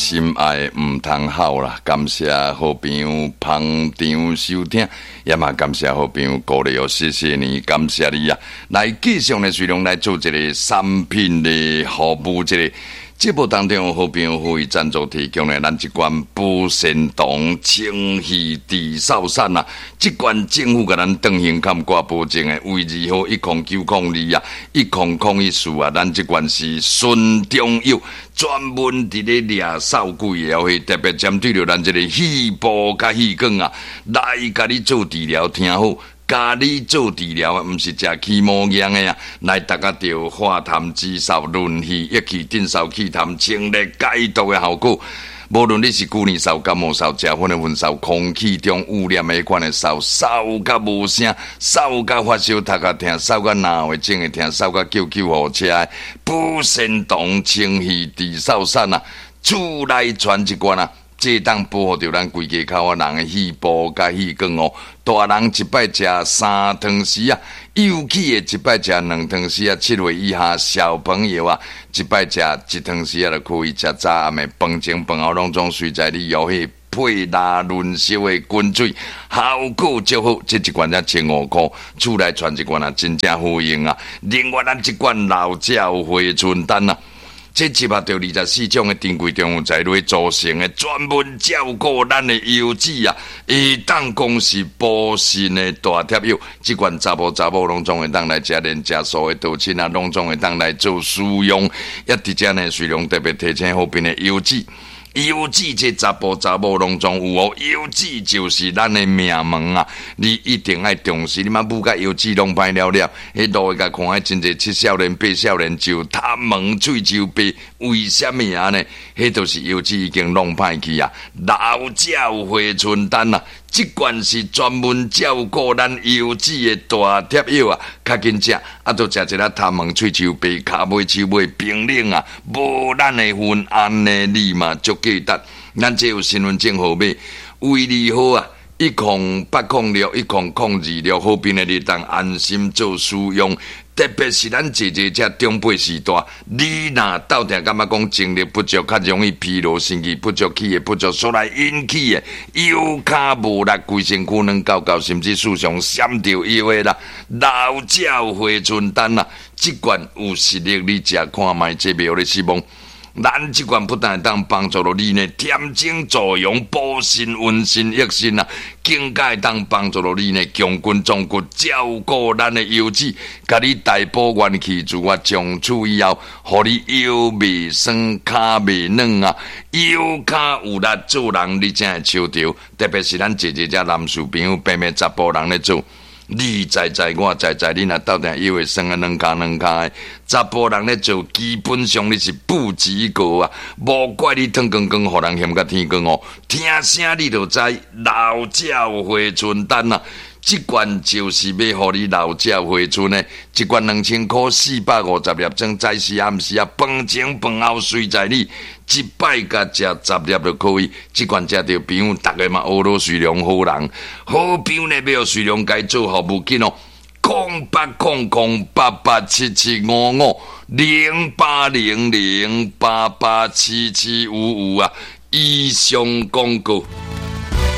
心愛毋通哭啦，感謝好朋友捧場收聽，也嘛感謝好朋友鼓勵哦，謝謝你，感謝你啊！來繼續呢，隨量來做一個產品的服務，這個節目當中，好朋友呼籲贊助提供的咱這罐補腎糖清氣治嗽散啊，這罐政府共咱斷行坎掛保證的，衛字號10902啊，10014啊，咱這罐是純中藥，專門佇咧掠嗽鬼的，會特別針對著咱這個肺部佮氣管啊，來共你做治療，聽好。共你做治療，毋是食起毛藥的啊！來，達到著化痰止嗽、潤肺益氣、鎮嗽、去痰、清熱解毒的效果。無論你是舊年嗽、感冒嗽、食薰的薰嗽、空氣中污染的彼款的嗽，嗽甲無聲，嗽甲發燒、頭殼疼，嗽甲腦會症會疼，嗽甲叫救護車的，補腎糖清肺治嗽散啊！厝內傳一罐啊！這當保護著咱規家口仔人的肺部佮氣管哦。大人一擺食3湯匙啊，幼齒的一擺食2湯匙啊，7歲以下小朋友啊，一擺食1湯匙啊就可以。食早暗的飯前飯後攏總隨在你搖彼配拉潤燒的滾水，效果足好。這一罐才15箍，厝內傳一罐啊，真正好用啊。另外，咱這罐老鳥回春丹啊。這集合著24種的珍貴中藥材來組成的，專門照顧咱的腰子啊，會當講是補腎的大帖藥。這款查埔查某攏總會當來食，連食素的道親啊，攏總會當來做使用。也佇遮呢，隨量特別提醒好朋友腰子。腰子這查埔查某攏總有哦，腰子就是咱的命門啊！你一定愛重視，你嘛母甲腰子攏歹了了，彼路會共看，彼真濟七少年八少年就痰門喙鬚白，為啥物按呢？彼就是腰子已經弄歹去啊！老鳥回春丹啊，這罐是專門照顧咱腰子的大帖藥啊！較緊食，啊，都食一粒痰門喙鬚白，跤尾手尾冰冷啊，無咱的份，按呢你嘛足記得，咱這有身份證號碼，衛字號啊，108061002六，好朋友你當安心做使用。特別是咱姐姐這長輩時代，你若鬥定感覺講精力不足，較容易疲勞、神氣不足、氣血不足，所來引起的腰跤無力、規身軀軟厚厚，甚至時常閃著腰的啦，老鳥回春丹啊，這罐有實力，你食看覓，這袂予你失望。咱這罐不但會當幫助著你呢，恬靜助陽、補腎、溫腎、益腎啊，更加會當幫助著你呢，強筋壯骨，照顧咱的腰子，共你大補元氣，自我從此以後，予你腰袂酸、跤袂軟啊，腰跤有力做人，你才會抽著。特別是咱姐姐這男士朋友，平平查埔人咧做。你知知，我知知，你若鬥定腰會酸啊，軟跤軟跤的，查埔人咧做，基本上你是不及格啊！無怪你脫光光，予人嫌甲天光哦。聽聲你就知，老鳥回春丹啊！這罐就是欲予你老鳥回春的，一罐2000箍，450粒裝，早時暗時啊，飯前飯後隨在你，一擺共食十粒就可以。這罐食著朋友，逐个嘛學落隨良好人，好朋友呢欲予隨良共做服務緊哦，08008877550800887755啊，以上廣告。